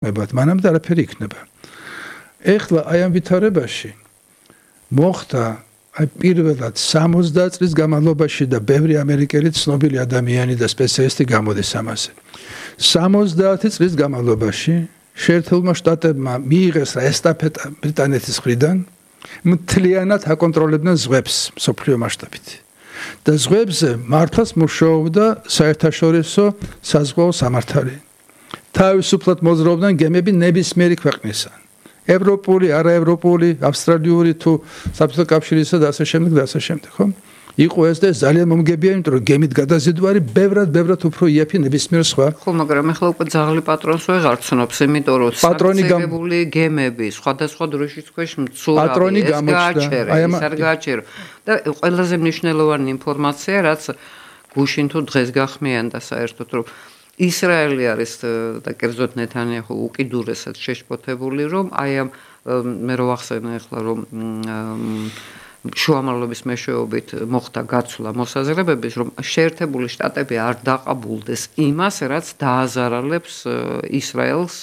მებად მანამდე არაფერი იქნება. ეხლა აი ამ ვითარებაში მოხდა აი პირველად 60 წლის განმავლობაში და ბევრი ამერიკელი ცნობილი ადამიანი და სპეციალისტი გამოდის ამაზე. 70 წლის განმავლობაში შეერთებულმა შტატებმა მიიღეს რა ესტაფეტა ბრიტანეთის მხრიდან მთლიანად აკონტროლებდნენ ზღვებს მსოფლიო მასშტაბით. და ზღვებზე მართლაც მუშაობდა საერთაშორისო საზღვაო სამართალი. თავისუფლად მოძრაობდნენ გემები ნებისმიერი ქვეყნისა. ევროპული, არაევროპული, ავსტრალიური თუ საბჭოთა კავშირისა და ასე შემდეგ, ხო? იყო ეს და ძალიან მომგებია, იმიტომ რომ გემით გადაზიდვარი ბევრად უფრო იაფი ნებისმიერ სხვა. ხო, მაგრამ ახლა უკვე ძაღლი პატრონს ვეღარ ცნობს, იმიტომ რომ სარწმუნოებული გემები სხვადასხვა დროშის ქვეშ მცურავი ეს გააჩერა. და ყველაზე მნიშვნელოვანი ინფორმაცია, რაც გუშინ თუ დღეს გახმიანდა საერთოდ, რომ ისრაელი არის და კერძოდ ნეთანიაჰუ უკიდურესად შეშფოთებული, რომ აი ამ მე რო ვახსენე ახლა რომ შუამავლობის მეშვეობით მოხდა გაცვლა მოსაზრებების, რომ შეერთებული შტატები არ დაყაბულდეს იმას, რაც დააზარალებს ისრაელს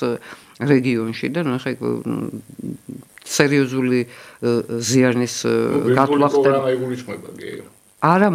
რეგიონში და ნუ ხა სერიოზული ზიანის გათვლა ხდება. არა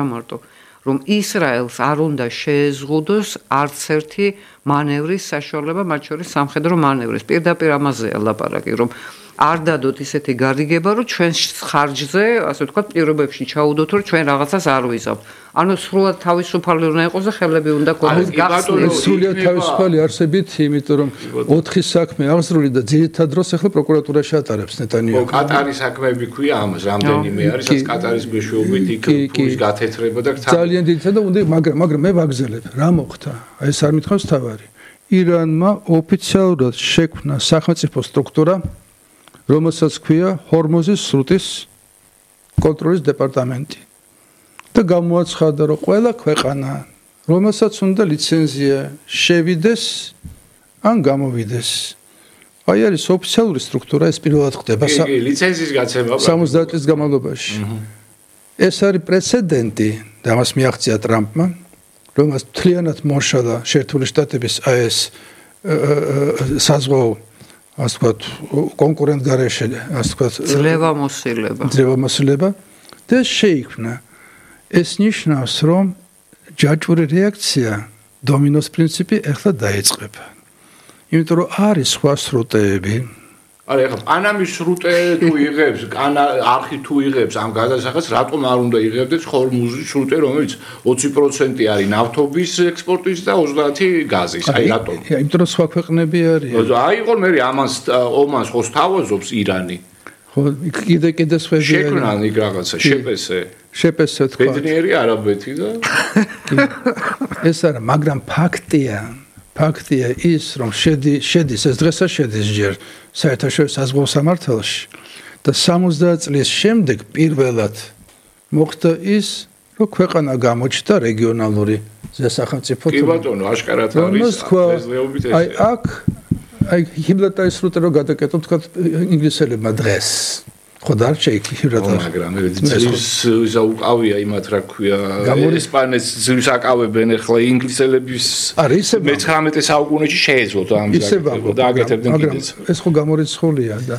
მარტო რომ ისრაელს არ უნდა შეეზღუდოს არც ერთი მანევრის საშუალება, მათ შორის სამხედრო მანევრის. პირდაპირ ამაზეა ლაპარაკი, რომ არ დადოთ ისეთი გარიგება, რომ ჩვენ ხარჯზე, ასე ვთქვათ, პირობებში ჩაუდოთ, რომ ჩვენ რაღაცას არ ვიზავთ. ანუ სრულად თავისუფალი უნდა იყოს და ხელები უნდა ქონდეს გახსნილი. სრულად თავისუფალი არსებით, იმიტომ რომ 4 საქმე აღსრული და ძირითად დროს ახლა პროკურატურაში ატარებს ნეტანიაჰუ. კატარის საქმეები ქვია ამას, რამდენიმე არის, რაც კატარის მეშვეობით იქ ფულის გათეთრება და ძალიან ძირითად და უნდა, მაგრამ მე ვაგზელებ, რა მოხდა? აი ეს არ მითხავს თავარი. ირანმა ოფიციალურად შექმნა სახელმწიფო სტრუქტურა, რომელსაც ქვია ჰორმუზის სრუტის კონტროლის დეპარტამენტი. და გამოაცხადა, რომ ყველა ქვეყანა, რომელსაც უნდა ლიცენზია შევიდეს ან გამოვიდეს. აი არის ოფიციალური სტრუქტურა, ეს პირველად ხდება ლიცენზიის გაცემა 70 წლის განმავლობაში. ეს არის პრეცედენტი და ამას მიაღწია ტრამპმა, რომელსაც მთლიანად მოშალა შეერთებული შტატების აი ეს საზღვაო ასე ვთქვათ, კონკურენტ გარეშე, ასე ვთქვათ, ძლევამოსილება და შეიქმნა. ეს ნიშნავს, რომ ჯაჭვური რეაქცია, დომინოს პრინციპი ახლა დაიწყება. იმიტომ რომ არის სხვა სრუტეები. არა, ახლა პანამის სრუტე თუ იღებს, არხი თუ იღებს ამ გადასახადს, რატომ არ უნდა იღებდეს ჰორმუზის სრუტე, რომელიც 20% არის ნავთობის ექსპორტის და 30% გაზის. აი რატომ? იმიტომ რომ სხვა ქვეყნები არის. აი იყო მე ომანს ხოს თავაზობს ირანი. ხო, კიდე სხვები შექმნან იქ რაღაცა, შეპესე თქვა. ბედნიერი არაბეთი და ეს არა, მაგრამ ფაქტია ის, რომ შედის ეს დღესაც შედის ჯერ საერთაშორისო საზღვაო სამართალში და 70 წლის შემდეგ პირველად მოხდა ის, რომ ქვეყანა გამოჩნდა რეგიონალური სახელმწიფო. კი ბატონო, აშკარად არის. აი აქ ჰიბლატარის სრუტე რო გადაკეთოთ, თქვა ინგლისელებმა დღეს. ხო დარჩა იქ ჰიბლატარი. მაგრამ ეს უკავია იმათ რა ქვია, ესპანეთს ძირს აკავებენ ახლა ინგლისელების. მე-19 საუკუნეში შეეძლოთ ამ და აკეთებდნენ კიდეც. ეს ხო გამორიცხულია და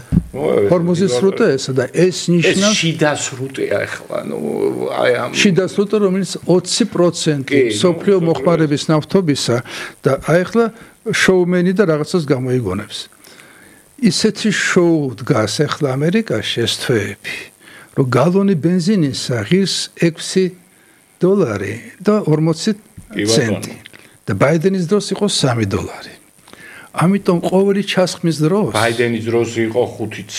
ჰორმუზის სრუტე ესა და ეს ნიშნავს შიდა სრუტეა ახლა, ნუ აი ამ შიდა სრუტე, რომელიც 20% სოფლიო მოხმარების ნავთობისა და აი ახლა შოუმენი და რაღაცას გამოიგონებს. ისეთი შოუ დგას ახლა ამერიკაში ეს თვეები, რომ გალონი ბენზინისა ღირს $6 და 40 ცენტი და ბაიდენის დროს იყო $3. ამიტომ ყოველი ჩასხმის დროს ბაიდენის დროს იყო 5-იც,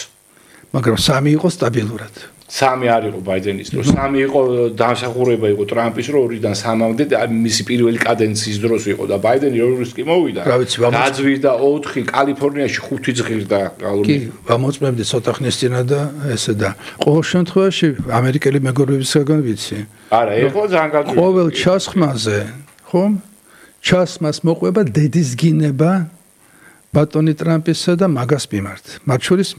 მაგრამ 3 იყო სტაბილურად. 3 არ იყო ბაიდენის დროს, 3 იყო დამსახურება იყო ტრამპის, რომ 2-დან 3-მდე და მისი პირველი კადენციის დროს იყო და ბაიდენი როგორც კი მოვიდა. გაძვირდა 4, კალიფორნიაში 5 ზღირდა გალონი. კი, ვამოწმებდი ცოტა ხნის წინა და ესე და ყოველ შემთხვევაში ამერიკელი მეგობრებისგან ვიცი. არა, ეხლა ძალიან გაძვირდა. ყოველ ჩასხმაზე, ხომ? ჩასხმას მოყვება დედის გინება ბატონი ტრამპისა და მაგას მიმართ. მათ შორის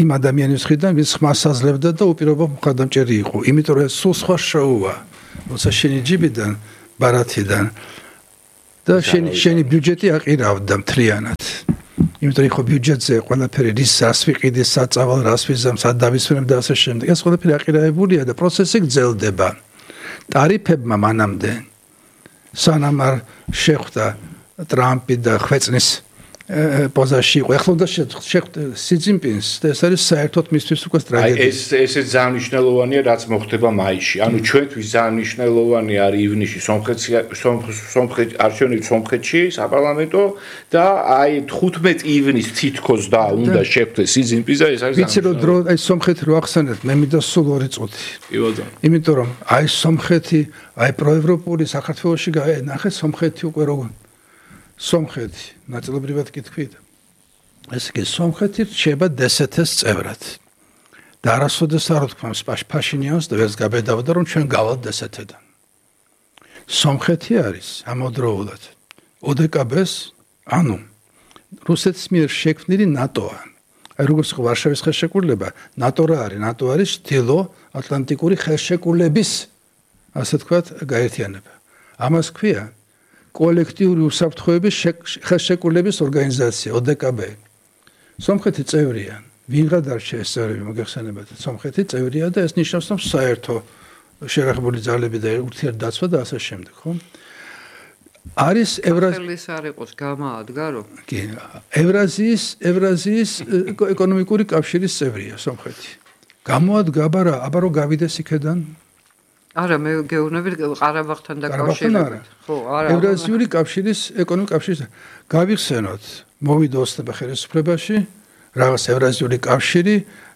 იმ ადამიანის მხრიდან, ვინც ხმას აძლევდა და უპირობო მხარდამჭერი იყო. იმიტომ რომ ეს სულ სხვა შოუა. როცა შენი ჯიბიდან, ბარათიდან და შენი ბიუჯეტი აყირავდა მთლიანად. იმიტომ რომ ხო ბიუჯეტზე ყველაფერი რის რას ვიყიდი, საწავალ რას ვიზამ, სად დავისვენებ და ასე შემდეგ. ეს ყველაფერი აყირავებულია და პროცესი გრძელდება. ტარიფებმა მანამდე სანამ არ შეხვდა ტრამპი და ხვეწნის პოზაში იყო. ეხლა უნდა შეხვდა სი ძინპინს და ეს არის საერთოდ მისთვის უკვე ტრაგედია. ესე ძალიან მნიშვნელოვანია რაც მოხდება მაისში. ანუ ჩვენთვის ძალიან მნიშვნელოვანი არის ივნისში სომხეთი არჩევნები სომხეთში საპარლამენტო და აი 15 ივნისს თითქოს და უნდა შეხვდეს სი ძინპინს და ეს არის ვიცი რომ დრო აი სომხეთი რო ახსენეთ მე მინდა სულ 2 წუთი. კი ბატონო. იმიტომ რომ აი სომხეთი აი პროევროპული საქართველოში ნახეთ სომხეთი უკვე როგორ სომხეთი ნაწილობრივად კითხვით. ესე იგი სომხეთი რჩება DST-ს წევრად. და არასოდეს არ ვთქვამს ფაშინიანს და ვერც გაბედავდა რომ ჩვენ გავალთ DST-დან. სომხეთი არის ამავდროულად ODKB-ს, ანუ რუსეთის მიერ შექმნილი ნატოა. აი როგორც ხო ვარშავის ხელშეკრულება, ნატო რა არის? ნატო არის ჩრდილო-ატლანტიკური ხელშეკრულების ასე ვთქვათ გაერთიანება. ამას ქვია კოლექტიური უსაფრთხოების ხელშეკრულების ორგანიზაცია ODKB. სომხეთი წევრია. ვინღა დარჩა ეს წევრები მოგეხსენებათ. სომხეთი წევრია და ეს ნიშნავს რომ საერთო შერახებული ძალები და ურთიერთდაცვა და ასე შემდეგ, ხო? არის ევრაზიის არ იყოს გამაადგა რომ? კი, ევრაზიის ეკონომიკური კავშირის წევრია სომხეთი. გამოადგა აბა რომ გავიდეს იქედან? არა მე გეუბნები ყარაბაღთან დაკავშირებით. ხო, არა. ევრაზიული კავშირის ეკონომიკური კავშირის გავიხსენოთ, მოვიდა ოცნება ხელისუფლებაში, რაღაც ევრაზიული კავშირი,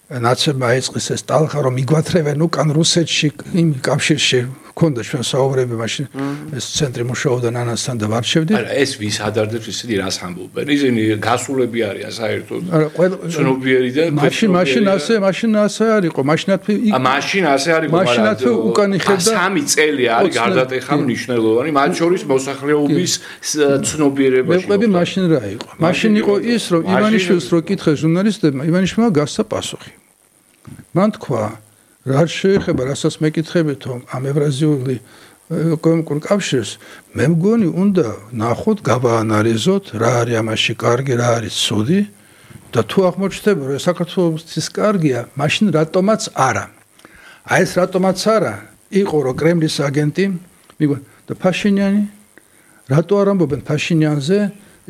ნაცებმა აიწყეს ეს ტალღა რომ მიგვათრევენ უკან რუსეთში იმ კავშირში ქონდა ჩვენ საუბრები მაშინ ეს ცენტრი მუშაობდა ნანასთან და ვარჩევდი. არა ეს ვის ადარდებს ისინი რას ამბობენ? ისინი გასულები არიან საერთოდ. არა ყველა ცნობიერი და მაშინ ასე არ იყო. მაშინ ასე არ იყო, მაგრამ უკან იხედა 3 წელი არის გარდატეხა მნიშვნელოვანი, მათ შორის მოსახლეობის ცნობიერება. მეყვები მაშინ რა იყო? მაშინ იყო ის რომ ივანიშვილს რო კითხეს ჟურნალისტებმა, ივანიშვილმა გასცა პასუხი. მან თქვა რა შეეხება რასაც მეკითხებით ამ ევრაზიული ეკონომიკურ კავშირს მე მგონი უნდა ნახოთ გავაანალიზოთ რა არის ამაში კარგი რა არის ცუდი და თუ აღმოჩნდება რომ საქართველოს კარგია მაშინ რატომაც არა აი ეს რატომაც არა იყო რომ კრემლის აგენტი მიგონი და ფაშინიანი რატო არ ამბობენ ფაშინიანზე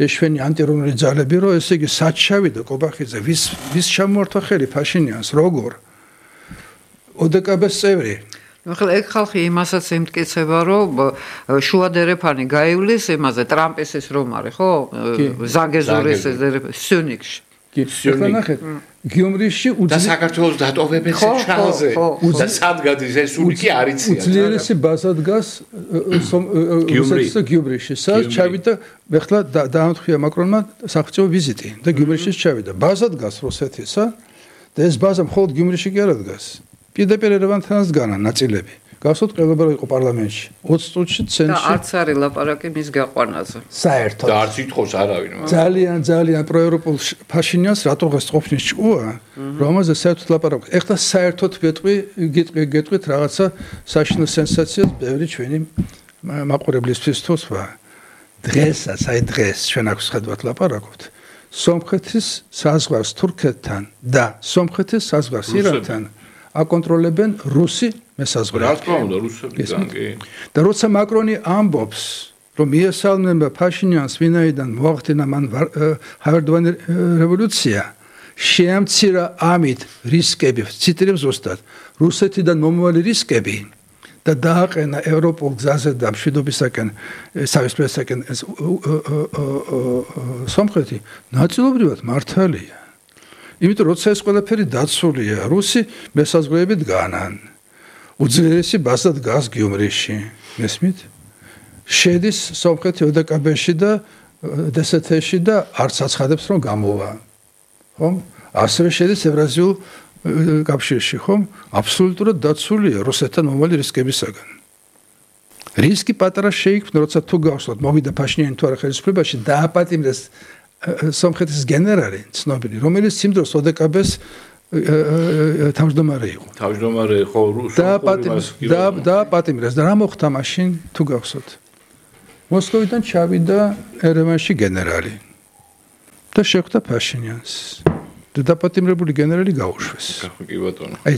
ეშვენი ანტირუსული ძალები რომ ესე იგი საჩავი და კობახიძე ვის შემოართვა ხელი ფაშინიანს როგორ ODKB-ს წევრი. ახლა ეგ ხალხი იმასაც ემტკიცება, რომ შუადერეფანი გაივლის იმაზე ტრამპის ეს რომ არის, ხო? ზაგეზურის სიუნიქში. კი, ახლა ნახეთ, გიუმრიში და საქართველოს დატოვებენ შალზე. და სად გადის ეს სუნიკი არიცია. უძლიერესი ბაზა დგას გიუმრიში. სად ჩავიდა, ახლა დაამთხია მაკრონმა სახელმწიფო ვიზიტი და გიუმრიში ჩავიდა. ბაზა დგას რუსეთისა და ეს ბაზა მხოლოდ გიუმრიში კი არ დგას. პირდაპირ ერევანთანაც განა ნაწილები. გასult ყელობა იყო პარლამენტში. 20 წუთში ცენტრში. და არც არის ლაპარაკი მის გაყვანაზე. საერთოდ. და არც ითხოვს არავინ. ძალიან პროევროპულ ფაშინიანს რატო დღეს ყოფნის ჭკუა, რომელზე საერთოდ ლაპარაკობს. ეხლა საერთოდ გეტყვით რაღაცა საშინო სენსაციას ბევრი ჩვენი მაყურებლისთვის თვლა. დღესაც ჩვენ აქვს ხედავთ ლაპარაკობთ. სომხეთის საზღვარს თურქეთთან და სომხეთის საზღვარს ირანთან აკონტროლებენ რუსი მესაზღვრეები. რა თქმა უნდა, რუსებიდან კი. და როცა მაკრონი ამბობს, რომ მიესალმება ფაშინიანს, ვინაიდან მოახდინა მან ჰავერდოვანი რევოლუცია, შეამცირა ამით რისკები, ციტირებს ზუსტად, რუსეთიდან მომავალი რისკები და დააყენა ევროპულ გზაზე და მშვიდობისაკენ, სავისპირესაკენ სომხეთი ნაწილობრივად მართალია. იმიტომ როცა ეს ყველაფერი დაცულია, რუსი მესაზღვრეებით განან. უძლიერესი ბაზა დგას გიუმრიში. მესმით? შედის სომხეთი ODKB-ში და DST-ში და არც აცხადებს რომ გამოვა. ხომ? ასევე შედის ევრაზიულ კავშირში, ხომ? აბსოლუტურად დაცულია რუსეთთან მომავალი რისკებისაგან. რისკი პატარა შეიქმნა, როცა თუ გავსვათ, მოვიდა ფაშინიანი თუ არა ხელისუფლებაში, დააპატიმრეს სომხეთის გენერალი ცნობილი, რომელიც იმ დროს ODKB-ს თავმჯდომარე იყო. თავმჯდომარე ხო დააპატიმრეს და რა მოხდა მაშინ თუ გავხსოთ? მოსკოვიდან ჩავიდა ერევანში გენერალი და შეხვდა ფაშინიანს. დაპატიმრებული გენერალი გაუშვეს. კი ბატონო. აი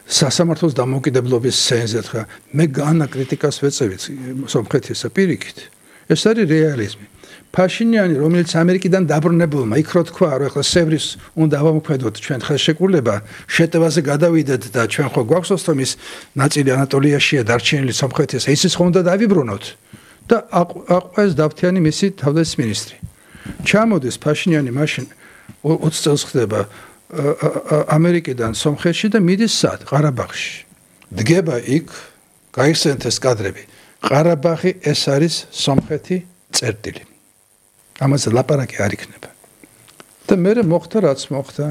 სასამართლოს დამოუკიდებლობის სცენაზე ხა მე განა კრიტიკას ვეწევით სომხეთისა პირიქით. ეს არის რეალიზმი. ფაშინიანი, რომელიც ამერიკიდან დაბრუნებულმა იქ რო თქვა, რომ ახლა სევრის უნდა ავამოქმედოთ ჩვენ ხელშეკრულება, შეტევაზე გადავიდეთ და ჩვენ ხო გვაქვს ოსტომის ნაწილი ანატოლიაშია დარჩენილი სომხეთის, ისიც ხო უნდა დავიბრუნოთ და აყვეს დავთიანი მისი თავდაცვის მინისტრი. ჩამოდის ფაშინიანი მაშინ 20 წელს ხდება ამერიკიდან სომხეთში და მიდის სად? ყარაბაღში. დგება იქ, გაიხსენეს კადრები. ყარაბაღი ეს არის სომხეთი წერტილი. ამაზე ლაპარაკი არ იქნება. და მე მოხდა რაც მოხდა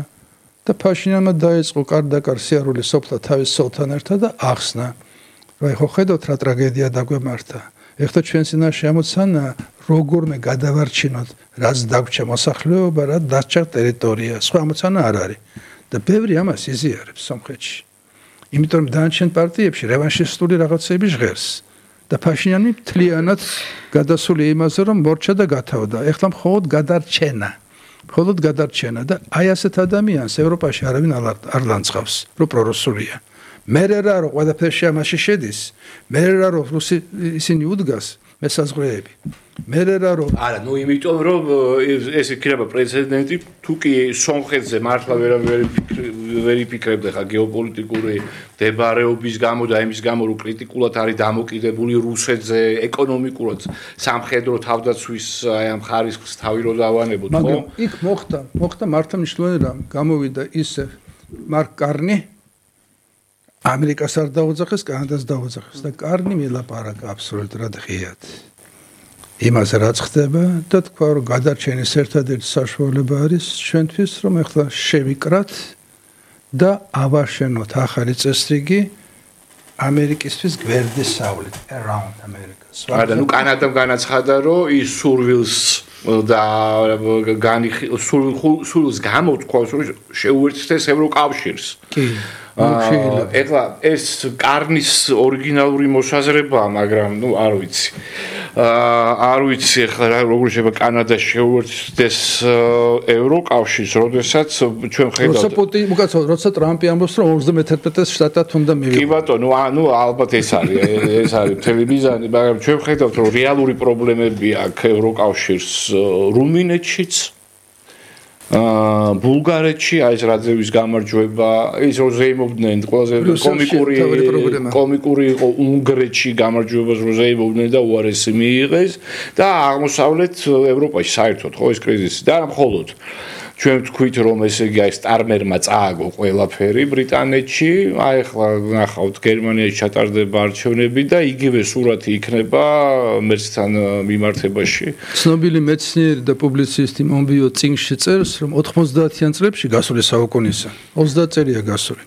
და ფაშინიანმა დაიწყო კარდაკარ სიარული სოფლა თავის სოლთან ერთად და ახსნა. რა ხო ხედავთ რა ტრაგედია დაგვემართა. ეხლა ჩვენ წინაშე ამოცანა როგორმე გადავარჩინოთ, რაც დაგვრჩა მოსახლეობა, რა დარჩა ტერიტორია. სხვა ამოცანა არ არის. და ბევრი ამას იზიარებს სომხეთში. იმიტომ რომ დანარჩენ პარტიებში რევანშისტული რაღაცები ჟღერს. და ფაშინიანი მთლიანად გადასული იმაზე, რომ მორჩა და გათავდა. ეხლა მხოლოდ გადარჩენა. მხოლოდ გადარჩენა და აი ასეთ ადამიანს ევროპაში არავინ არ ლანցავს, რომ პრორუსულია. მერე რა რომ ყველაფერში ამაში შედის, მერე რა რომ რუსი ისინი უდგას მესაზღვრეები. მერე რა რომ არა, ნუ იმიტომ რომ ეს იქნება პრეცედენტი, თუ კი სომხეთზე მართლა ვერ იფიქრებდა ხა გეოპოლიტიკური დებარეობის გამო და იმის გამო რომ კრიტიკულად არის დამოკიდებული რუსეთზე ეკონომიკურად სამხედრო თავდაცვის აი ამ ხარისხს თავი რო დავანებოთ, ხო? მაგრამ იქ მოხდა მართლა მნიშვნელოვანი რამ, გამოვიდა ისე მარკ კარნი ამერიკას არ დაუძახეს, კანადას დაუძახეს და კარნი მილაპარაკა აბსოლუტურად ღიად. იმაზე რაც ხდება და თქვა რომ გადარჩენის ერთადერთი საშუალება არის ჩვენთვის რომ ახლა შევიკრათ და ავაშენოთ ახალი წესრიგი ამერიკისთვის გვერდისავლით around America. არა, ნუ კანადამ განაცხადა რომ ის სურვილს და სურვილს გამოთქვას რომ შეუერთდეს ევროკავშირს. კი. ეხლა ეს კარნის ორიგინალური მოსაზრებაა, მაგრამ ნუ არ ვიცი. არ ვიცი ეხლა როგორ შეიძლება კანადა შეუერთდეს ევროკავშირს, როდესაც ჩვენ ხედავთ როცა ტრამპი ამბობს რომ 51 შტატად უნდა მივიღო. კი ბატონო, ანუ ალბათ ეს არის მთელი მიზანი, მაგრამ ჩვენ ხედავთ რომ რეალური პრობლემები აქვს ევროკავშირს რუმინეთშიც ბულგარეთში აი ეს რაძევის გამარჯვება, ის რო ზეიმობდნენ ყველაზე კომიკური იყო უნგრეთში გამარჯვებას რო ზეიმობდნენ და უარესი მიიღეს და აღმოსავლეთ ევროპაში საერთოდ ხო ეს კრიზისი და არა მხოლოდ ჩვენ თქვით რომ ესე იგი აი სტარმერმა წააგო ყველაფერი ბრიტანეთში, აი ახლა ნახავთ გერმანიაში ჩატარდება არჩევნები და იგივე სურათი იქნება მერცთან მიმართებაში. ცნობილი მეცნიერი და პუბლიცისტი მომბიო წინგში წერს რომ 90-იან წლებში გასული საუკუნისა 30 წელია გასული.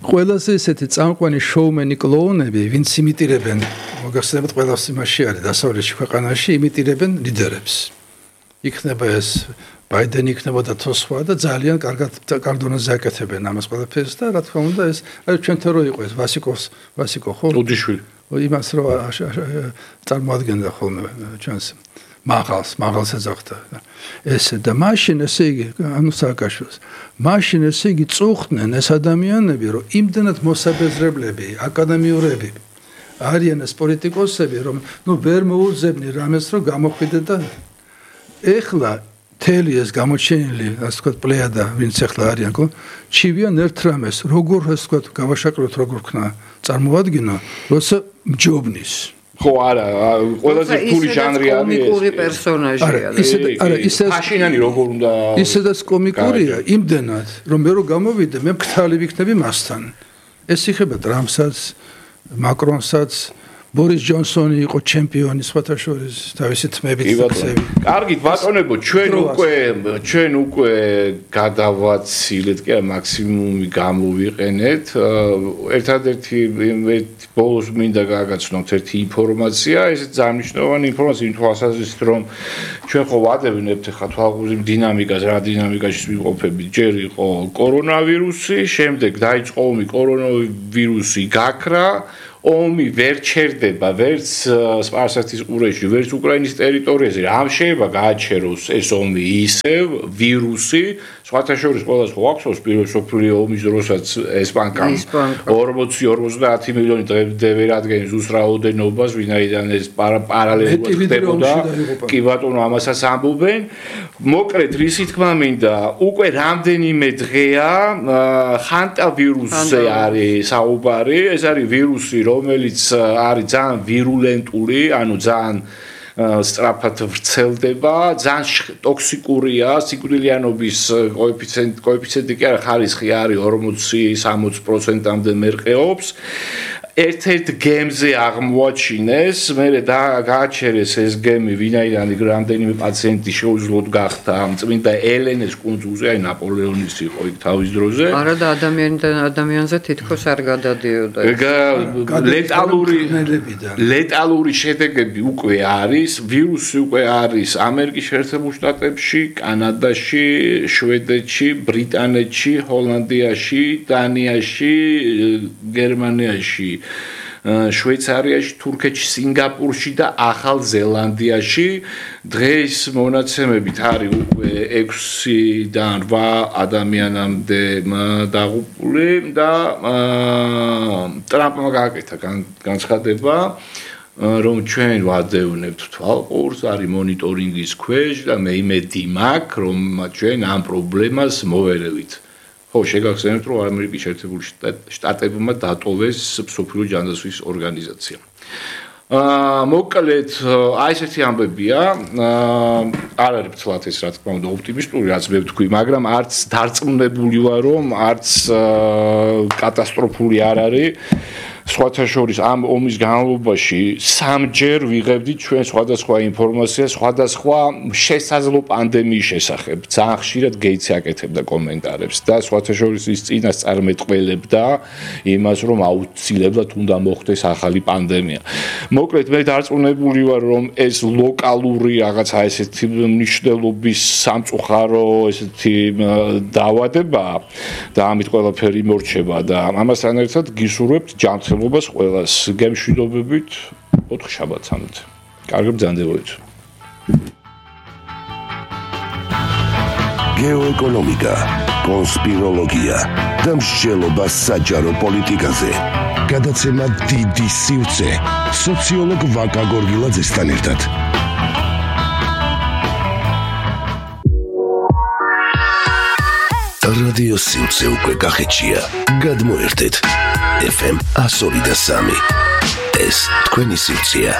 ყველაზე ესეთი წამყვანი შოუმენი კლოუნები, ვინც იმიტირებენ, მოგახსენებთ ყველას იმაში არის დასავლეთში ქვეყანაში იმიტირებენ ლიდერებს. იქნება ეს ბაიდენი იქნებოდა თუ სხვა და ძალიან კარგად კარდონაზე აკეთებენ ამას ყველაფერს და რა თქმა უნდა ეს აი ჩვენთან რო იყო ეს ვასიკო ხო? უდიშვილი. იმას რო წარმოადგენდა ხოლმე ჩვენს მაღალს ეძახდა. ესე და მაშინ ესე იგი ანუ სააკაშვილს მაშინ ესე იგი წუხდნენ ეს ადამიანები რომ იმდენად მოსაბეზრებლები, აკადემიურები არიან ეს პოლიტიკოსები რომ ნუ ვერ მოუძებნი რამეს რომ გამოხვიდე და ეხლა თელი ეს გამოჩენილი, ასე ვთქვათ, პლეიადა, ვინც ახლა არიან, ხო? ჩივიან ერთ რამეს, როგორ ასე ვთქვათ, გავაშაკროთ, როგორ ქნა წარმოადგინო, როცა მჯობნის. ხო, არა, ყველაზე რთული ჟანრი არის. კომიკური პერსონაჟია. არა, ისე ფაშინიანი როგორ უნდა ისედაც კომიკურია, იმდენად, რომ მე რო გამოვიდე, მე მკთალი ვიქნები მასთან. ეს იხება ტრამპსაც, მაკრონსაც ბორის ჯონსონი იყო ჩემპიონი სხვათა შორის თავისი თმებით ფიქსები. კარგით ბატონებო, ჩვენ უკვე გადავაცილეთ, კი არა, მაქსიმუმი გამოვიყენეთ. ერთადერთი ბოლოს მინდა გაგაცნოთ ერთი ინფორმაცია, ეს ძალიან მნიშვნელოვანი ინფორმაცია იმ თვალსაზრისით, რომ ჩვენ ხო ვადევნებთ ხა თვალყურს დინამიკას, რა დინამიკაში ვიყოფებით. ჯერ იყო კორონავირუსი, შემდეგ დაიწყო ომი, კორონავირუსი გაქრა ომი ვერ ჩერდება ვერც სპარსეთის ყურეში, ვერც უკრაინის ტერიტორიაზე, რამ შეიძლება გააჩეროს ეს ომი ისევ ვირუსი, სხვათა შორის ყველას ხო აქვს პირველ მსოფლიო ომის დროსაც ეს ბანკა 40-50 მილიონი დღემდე ვერ ადგენს უს რაოდენობას, ვინაიდან ეს პარალელურად ხდებოდა. კი ბატონო, ამასაც ამბობენ. მოკლედ, რისი თქმა მინდა, უკვე რამდენიმე დღეა ხანტა ვირუსზე არის საუბარი, ეს არის ვირუსი, რომელიც არის ძალიან ვირულენტული, ანუ ძალიან სწრაფად ვრცელდება, ძალიან ტოქსიკურია, სიკვდილიანობის კოეფიციენტი კი არა, ხარისხი არის 40-60%-მდე მერყეობს. ერთ-ერთ გემზე აღმოაჩინეს, მერე გააჩერეს ეს გემი, ვინაიდან რამდენიმე პაციენტი შეუძლოდ გახდა წმინდა ელენეს კუნძულზე, აი ნაპოლეონის იყო იქ თავის დროზე. არა და ადამიანზე თითქოს არ გადადიოდა. ლეტალური შედეგები უკვე არის, ვირუსი უკვე არის ამერიკის შეერთებულ შტატებში, კანადაში, შვედეთში, ბრიტანეთში, ჰოლანდიაში, დანიაში, გერმანიაში, შვეიცარიაში, თურქეთში, სინგაპურში და ახალ ზელანდიაში. დღეს მონაცემებით არის უკვე 6-დან 8 ადამიანამდე დაღუპული და ტრამპმა გააკეთა განცხადება, რომ ჩვენ ვადევნებთ თვალყურს, არის მონიტორინგის ქვეშ და მე იმედი მაქვს, რომ ჩვენ ამ პრობლემას მოვერევით. ხო, შეგახსენებთ, რომ ამერიკის შეერთებული შტატებმა დატოვეს მსოფლიო ჯანდაცვის ორგანიზაცია. მოკლედ, აი ესეთი ამბებია, არ არის ფცლად ეს, რა თქმა უნდა, ოპტიმისტური, რაც მე ვთქვი, მაგრამ არც დარწმუნებული ვარ, რომ არც კატასტროფული არ არის. სხვათა შორის ამ ომის განმავლობაში სამჯერ ვიღებდით ჩვენ სხვადასხვა ინფორმაციას, სხვადასხვა შესაძლო პანდემიის შესახებ. ძალიან ხშირად გეიცი აკეთებდა კომენტარებს და სხვათა შორის ის წინასწარმეტყველებდა იმას, რომ აუცილებლად უნდა მოხდეს ახალი პანდემია. მოკლედ, მე დარწმუნებული ვარ, რომ ეს ლოკალური რაღაცა ესეთი მნიშვნელობის სამწუხარო ესეთი დაავადებაა და ამით ყველაფერი მორჩება და ამასთან ერთად გისურვებთ ჯანმრთელობას ყველას გემშვიდობებით 4 შაბათამდე. კარგი ბრძანდებოდეთ. გეოეკონომიკა, კონსპიროლოგია და მსჯელობა საჯარო პოლიტიკაზე. გადაცემა დიდი სივრცე სოციოლოგ ვაკა გორგილაძესთან ერთად. რადიო სივრცე უკვე კახეთშია. გადმოერთეთ FM 103.3. ეს თქვენი სივრცეა.